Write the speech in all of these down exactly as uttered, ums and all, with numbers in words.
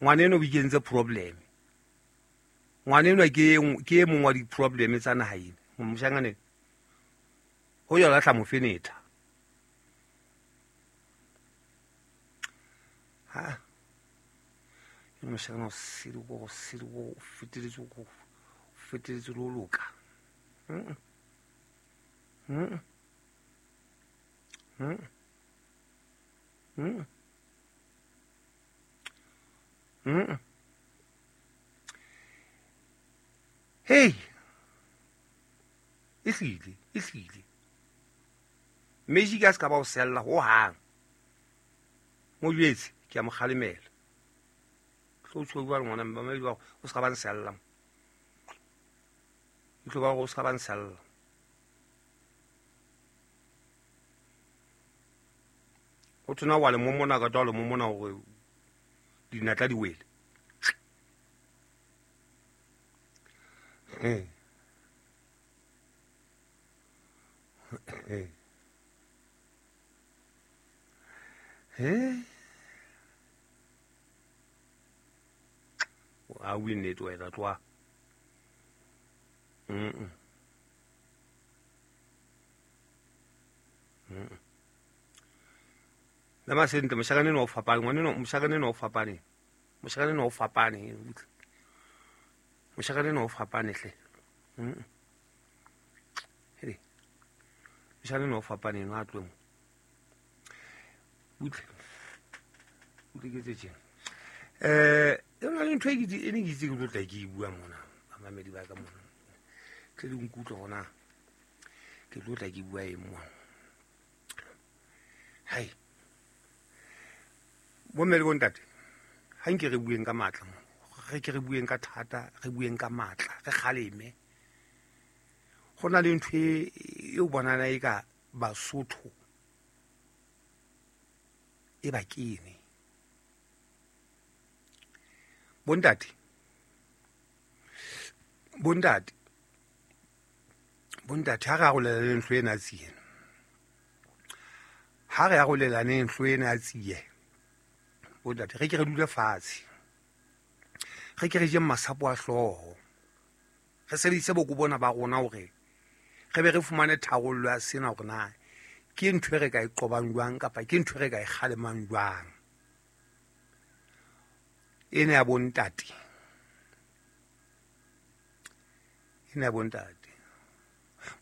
Ngwaneno o ikentse problem. Ngwaneno ke ke e mong wa di-problem tsa naha ena. Moshanyana ho ya lahla mofenetha. Ha moshanyana o sele go sele go feteletse go feteletse lo loka. Mm. Mm. Mm. Mm. Mm. Hey. Ehlile, ehlile. Magic a ska ba o sella ho hang. Mo jwetse ke a mo kgalemela. Tlo tshwe bua le ngwana mma ba ba o ska ba nsella. Tlo ba o ska ba nsella. O tsena wa le momona ka twa le momona hore dinatla di wele. Eh. Eh. Eh. A win it wena twa. Mm. Mm. La masente moshakane no fapane ngwane no moshakane no fapane. Moshakane no fapane. Moshakane no fapane hle. Mm. Hele. Moshakane no fapane no atlwe mo. Butle. Butle ke tse tjena. Eh, e na le ntho e ke e ne ke itse ke tlo tla ke e bua mona. Bamamedi ba ka mona. Tle le nkutlwe hona. Ke tlo tla ke bua eng mona. Hai. Bomme le bontate, ha nke re bueng ka matla mo. Re ke re bueng ka thata, re bueng ka matla, re kgaleme. Ho na le ntho e o bonana e ka Basotho e ba kene. Bontate, bontate, bontate ha re arolelane ntho ena tsie. Ha re arolelane ntho ena tsie. Bontate, re ke re dule fatshe. Re ke re je masapo a hlooho. Re sebedise boko bona ba rona hore re be re fumane tharollo ya sena hore na ke ntho e re ka e qobang jwang kapa ke ntho e re ka e kgalemang jwang. Ena ya bontate. Ena ya bontate.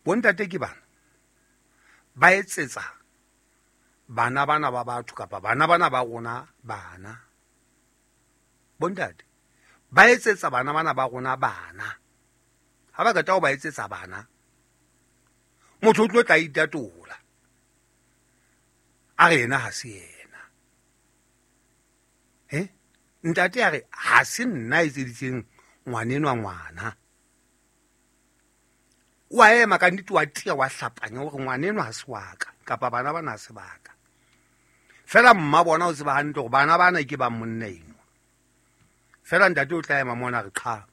Bontate ke bana. Ba etsetsa bana bana ba batho kapa bana bana ba rona bana. Bontate ba etsetsa bana bana ba rona bana. Ha ba qeta ho ba etsetsa bana, motho o tlo tla itatola. A re yena ha se yena. Eh? Ntate a re ha se nna a etseditseng ngwanenwa ngwana. Wa ema ka nnete wa tia wa hlapanya hore ngwanenwa ha se wa ka kapa bana bana ha se ba ka. Fela mma bona o tseba hantle hore bana bana ke ba monna eno. Fela ntate o tla ema mona re qha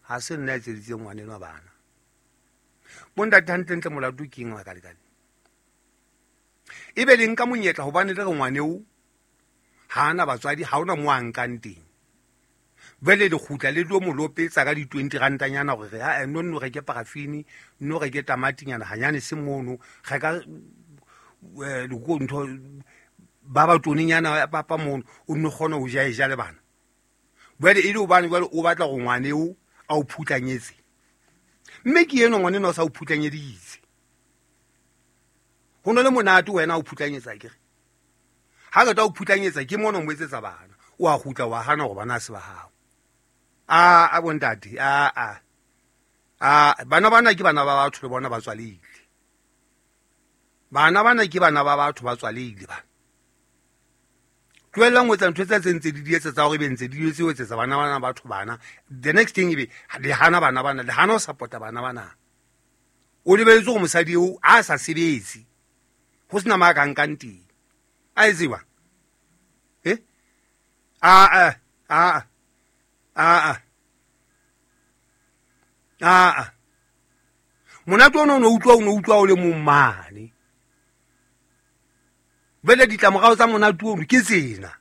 ha se nna a etseditseng ngwanenwa bana. Bontate hantlentle molato ke eng wa ka lekane? Ebe le nka monyetla hobane le re ngwaneo ha ana batswadi, ha ona mo a nkang teng. Jwale le kgutla le tlo mo lopetsa ka di-twenty rantanyana hore ha no nno reke parafini, nno reke tamatinyana hanyane se mono, reka ntho ba ba tonenyana papa mono, o nno kgona ho ja e ja le bana. Jwale e le hobane jwale o batla hore ngwaneo a o phutlanyetse. Mme ke eno ngwaneno a sa o phutlanyeditse. Ho no le monate wena o phutlanyetsa akere. Ha qeta o phutlanyetsa ke mona o mo etsetsa bana. O a kgutla wa hana hore bana ha se ba hao. A a bontate, a a. A bana bana ke bana ba batho le bona ba tswalehile. Bana bana ke bana ba batho ba tswalehile bana. Tlohellang ho etsa ntho tse ntse di di etsa tsa hore be ntse di etse ho etsetsa bana bana batho bana. The next thing ebe le hana bana bana, le hana ho support-a bana bana. O lebelletse hore mosadi eo a sa sebetse. Ho sena ma ka nkang teng. A e tseba? Eh? A a a a a a a. Monate ona o no utlwa o no utlwa o le mong mane. Jwale ditlamorao tsa monate ono ke tsena.